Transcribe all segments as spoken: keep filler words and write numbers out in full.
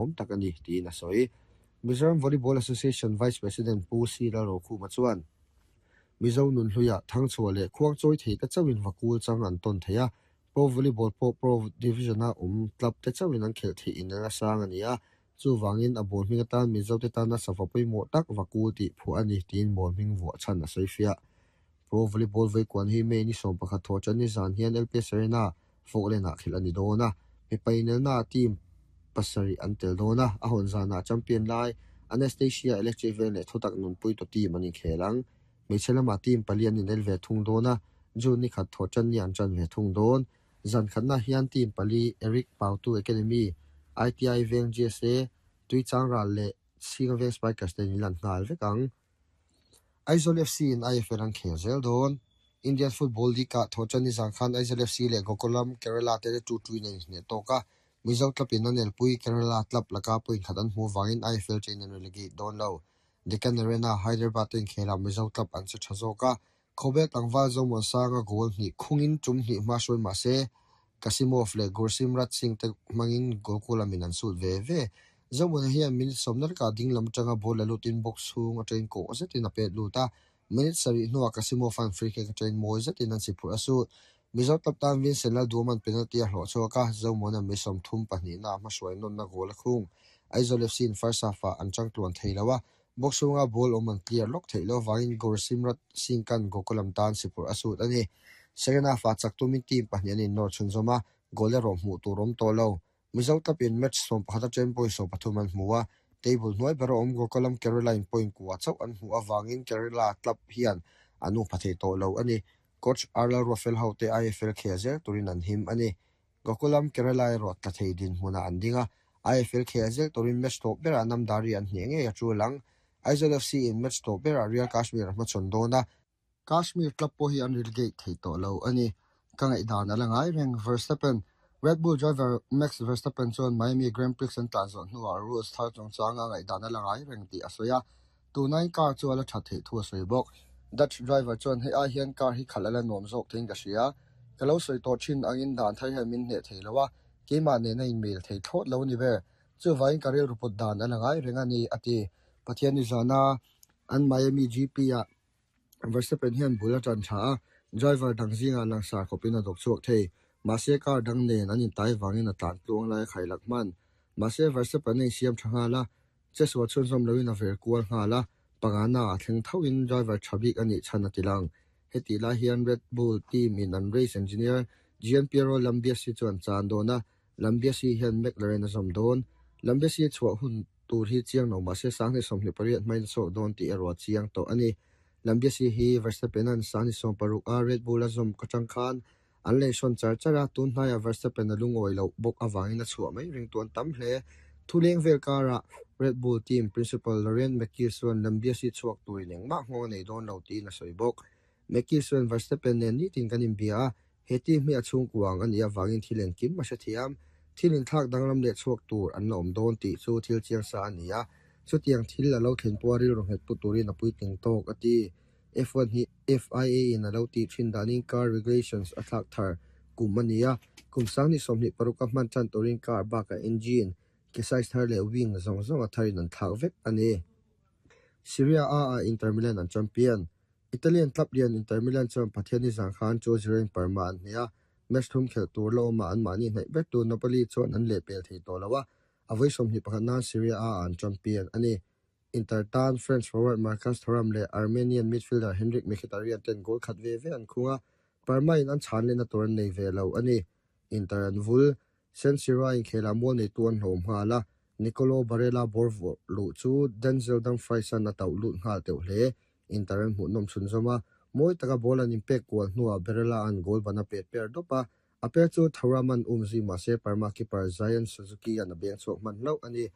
Awm tak a ni, tiin a sawi. Mizoram Volleyball Association Vice President Pu C Lalrokhuma chuan, Mizo nunhluia thangchhuah leh khuangchawi thei te chauhin vakul chang an tawn thei a, Pro Volleyball pawh Pro Division-a awm club te chauhin an khelh theih in a sang a ni a, chuvangin a ball hming atan Mizo te tana sava pawimawh tak vakul tih phuah a ni, tiin ball hming vuah chhan a sawi fiah. Pro Volleyball veikuan hi May ni sawm pakhat thawh tan ni zan hian L P S Arena Falkland-ah khelh a ni dawn a, mipa inelnaah team pasarih an tel dawn a, a hawn zanah champion lai Anastasia Electric Veng leh thutak nunpui tawh team an inkhel ang. Hmeichhe lamah team pali an inel ve thung dawn a, June ni khat thawh tan ni an tan ve thung dawn. Zan khatnaah hian team pali Eric Pautu Academy, I T I Veng G S A, Tuichang Ral leh Chhinga Veng Spikers te an inlan nghal vek ang. Aizawl F C in I F L an khel zel dawn. Indian Football League-ah thawh tan ni zan khan Aizawl F C leh Gokulam Kerala te two two in an inhneh tawk a, Mizo club in an elpui Kerala club laka point khat an hmuh vangin I F L chain an relegate dawn lo. Deccan Arena, Hyderabad te inkhelah Mizo club an che tha zawk a, Khawbel tlangval Zomuansanga goal hnih khungin tum hnih hma hruai mah se Kasimov leh Gursimrat Singh te hmangin Gokulamin an sut ve ve. Zomuana hian minute sawmna lakah ding lam atanga ball la lutin box chhung atangin kawh zetin a pet lut a, minute sarih hnuah Kasimov an free kick atangin mawi zetin an si phurh a sut. Mizo club tan Vincent Lalduaman penalty a hlawh chhuak a, Zomuana mi sawmthum pahnihna a hmahruai nawnna goal a khung. Aizawl F C in first half-ah an changtluan thei lo a, box chhunga ball awm an clear lawk theih loh avangin Gursimrat Singh kan Gokulam tan si phurh a sut a ni. Second half-ah chak tumin team pahnih an innawr chhunzawm a, goal erawh hmuh tur awm tawh lo. Mizo club in match sawm pakhat atangin point sawm pathum an hmu a, table hnuai ber a awm Gokulam Kerala in point kua chauh an hmuh avangin Kerala club hian an ungpha thei tawh lo a ni. Coach Arlal Ruafel ho te I F L khel zel turin an him a ni. Gokulam Kerala erawh tla thei dinhmunah an ding a, I F L khel zel turin match tawp berah Namdari an hneh ngei a tul ang. Aizawl F C in match tawp berah Real Kashmir a hmachhawn dawn a, Kashmir club pawh hi an relegate thei tawh lo a ni. Ka ngaihdan a la ngai reng. Verstappen Red Bull driver Max Verstappen chuan Miami Grand Prix an tlan zawh hnuah rules thar chungchanga ngaihdan a la ngai reng tih a sawi a, tunai car chu a la that theih thu a sawi bawk. Dutch driver chuan hei ai hian car hi khalh a la nuam zawk theiin ka hria. Ka lo sawi tawh thin angin dan thar hian min hneh thei lo a, keimah nena inmail thei thlawt lo a ni ber. Chuvangin ka rilru put dan a la ngai reng a ni, a ti. Pathian ni zana an Miami G P-ah Verstappen hian bul a tan tha a, driver dang zingah langsar khawpin a dawk chhuak thei. Mahse car dang nen an intai vangin a tlan tluang lai a khailak hman. Mahse Verstappen a insiam tha nghal a, chesua chhunzawm loin a ver kual nghal a, pangana a thleng thoin driver tha bik a nih chhan a ti lang. Heti lai hian Red Bull team in an race engineer Gianpiero Lambiase chuan chan dawn a, Lambiase hian McLaren a zawm dawn. Lambiase chhuah hun tur hi chiang lo mahse sanghnih sawmhnih pariat hmain a chhuak dawn tih erawh a chiang tawh a ni. Lambiase hi Verstappen an sanghnih sawm paruk a Red Bull a zawm ka tang khan an lei hrawn char char a, tun hnaiah Verstappen a lungawi loh bawk avangin a chhuah mai ring tuan tam hle. Thuleng vel karah Red Bull team principal Laurent Mekies chuan Lambiase chhuak turin engmah nghawng a nei dawn lo tiin a sawi bawk. Mekies chuan Verstappen nen nitin kan inbia a, he team hi a chhungkuang a nih avangin thil engkim a hre thiam. Thil inthlak danglam leh chhuak tur an la awm dawn tih chu thil chiang sa a ni a, chutiang thil a lo thlen pawh a rilru nghet pu turin a puitling tawk a ti. F one hi F I A in a lo tih thin danin car regulations a thlak thar kum a ni a, kum sanghnih sawmhnih paruk a hman tan turin car bakah engine, ke size thar leh wing zawng zawng a tharin an thlak vek a ni. Serie A ah Inter Milan an champion. Italian club lian Inter Milan chuan Pathian ni zan khan two zero in Parma an hneh a, match thum khelh tur la awmah an mahni hnaih ber tu Napoli chuan an leh pel thei tawh lo a, a vawi sawmhnih pakhat nan Serie A ah an champion a ni. Inter tan French forward Marcus Thuram leh Armenian midfielder Henrik Mkhitaryan ten goal khat ve ve an khung a, Parma in an chhan lehna tur an nei ve lo a ni. Inter an vul, San Siro a inkhelah mual nei tu an hlawm nghal a, Nicolo Barella ball vuah luh chu Denzel Dumfries an a tauh lut nghal teuh hle. Inter an hmuh nawm chhunzawm a, mawi taka ball an inpek kual hnuah Barella an goal ban a pet per dawp a, a per chu Thuram an um zui mahse Parma keeper Zion Suzuki an a beng chhuak hman hlauh a ni.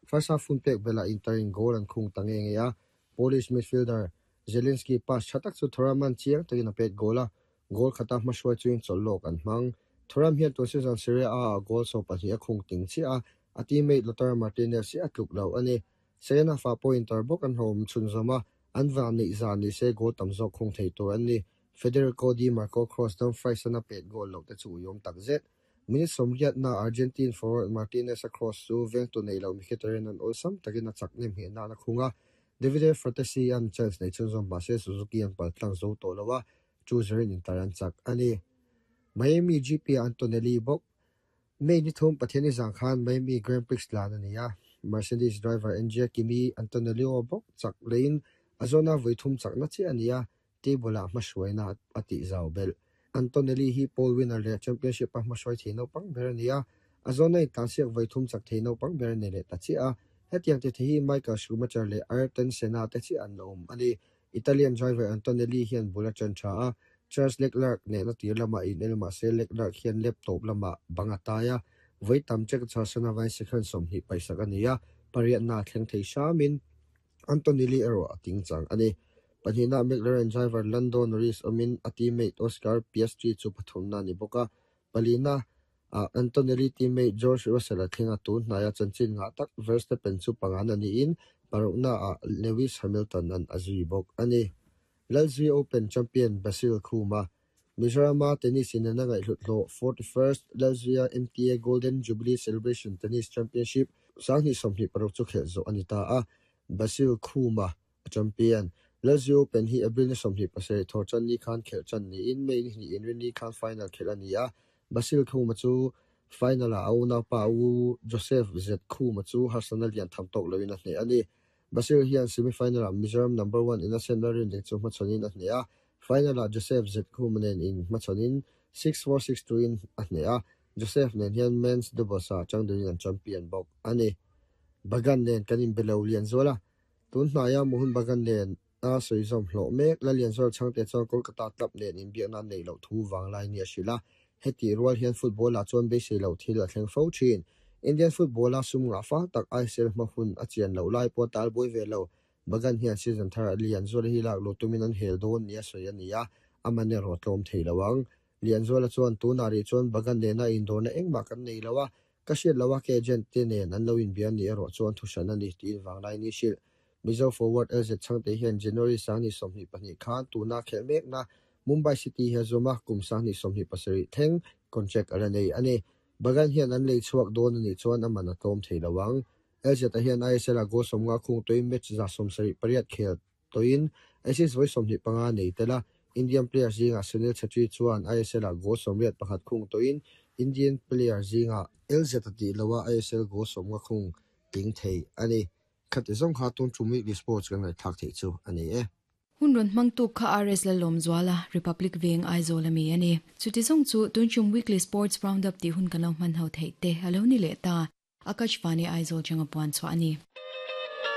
First half hun pek belah Inter in goal an khung ta nge nge a, Polish midfielder Zelinski pass tha tak chu Thuram an chiang takin a pet goal a, goal khata hmahruai chuin chawlh lawk an hmang. Thuram hian tun season Serie A ah goal sawm pahnih a khung ting chiah a, a teammate Lautaro Martinez hi a tluk lo a ni. Second half ah pawh Inter bawk an hlawm chhunzawm a, an van neih zan ni se goal tam zawk khung thei tur an ni. Federico Di Marco cross Dumfries an a pet goal lo te chu uiawm tak zet. Minute sawmriat na Argentine forward Martinez a cross chu vengtu nei lo Mkhitaryan an awlsam takin a chak nem heh na na khunga Davide Frattesi an chance nei chhunzawm mahse Suzuki an paltlang zo tawh lo a two zero in Inter an chak ani. Miami G P Antonelli bawk May ni thum Pathiani zang khan Miami Grand Prix tlan ani a Mercedes driver Andrea Kimi Antonelli bawk chak lein azona voi thum chak na chi ani a table ah hmahruaina a tih zau bel. Antonelli hi pole winner leh championship a hmahruai thei naupang ber ani a azona in tlansiak voi thum chak thei naupang ber ani leh ta chi a hetiang te hi Michael Schumacher leh Ayrton Senna te chi an awm ani. Italian driver Antonelli hian bul a ṭan ṭha a Charles Leclerc nena tir lama in el mahse Leclerc hian laptop lama bang a tai a voi tam check chasana vai second sawmhnih paisak ani a pariat na thleng thei hramin Antonelli erawh a ting chang ani. Pahnihna McLaren driver Lando Norris awmin a teammate Oscar Piastri chu pathumna ni bawk a palina Antonelli teammate George Russell a thleng a tun hnaia chanchin ngah tak Verstappen chu pangan ani in parukna ah Lewis Hamilton an a zui bawk ani. Lalzui Open champion Basil Khuma Mizorama tennis in na ngaihhlut hlawh forty-first Lalzuia M T A Golden Jubilee Celebration Tennis Championship sanghnih sawmhnih paruk chu khelh zawh ani ta a Basil Khuma a champion Lalzui Open hi April ni sawmhnih pasarih thawr chan ni khan khelh chan niin May ni hnih inrin khan final khelh ani a Basil Khuma chu final ah a unaupa u Joseph Z Khuma chu harsana lian tham tawk loin a hneh ani. Basil hian semi-final ah Mizoram number one Innocent Lalrinding chu hmachhawn a hneh a final ah Joseph Z Khuma nen in hmachhawnin six four six two in a hneh a Joseph nen hian men's doubles ah changdunin an champion bawk ani. Bagan nen kan inbe lo Lianzuala tun hnaia Mohun Bagan nen a sawizawm hlawh mek la Lianzuala changte chuan Kolkata club nen inbiakna nei loh thu vanglai ni a hrilh a heti rual hian football ah chuan beisei loh thil a thleng fo thin. Indian football a sum ngah fa tak I S L hma hun a chian loh lai pawh tal buai ve lo Bagan hian season thar a Lianzuala hi lak lo tumin an hel dawn ni a sawi ani a aman erawh tlawm thei lo ang. Lianzuala chuan tunah rih chuan Bagan nena indawrna engmah kan nei lo a ka hriat lo a ke agent te nen an lo inbian ni erawh chuan thu hran ani tiin vanglai ni hrilh. Mizo forward L Z Changte hian January sanghnih sawmhnih pahnih khan tuna khelh mekna Mumbai City hi a zawm a kum sanghnih sawmhnih pasarih thleng contract a la nei ani. Bagan hian an lei chhuak dawn ani chuan aman a tlawm thei lo ang. L Z a hian I S L a goal sawmnga khung toin match za sawmsarih pariat khel toin assist voi sawmhnih panga nei tela Indian player zinga Sunil Chhetri chuan I S L a goal sawmriat pakhat khung toin Indian player zinga L Z a tih loa I S L goal sawmnga khung tling thei ani. Khati zawng kha tun tum weekly sports kan ngaihthak thei chu ani e. Hun ron mangtu kha R S Lalawm Zuala Republic Veng Aizawl ami ani. Chuti zawng chu tun tum weekly sports roundup ti hun kan lo hman ho thei te alo ni le ta. Akashvani Aizawl changa puan chu ani.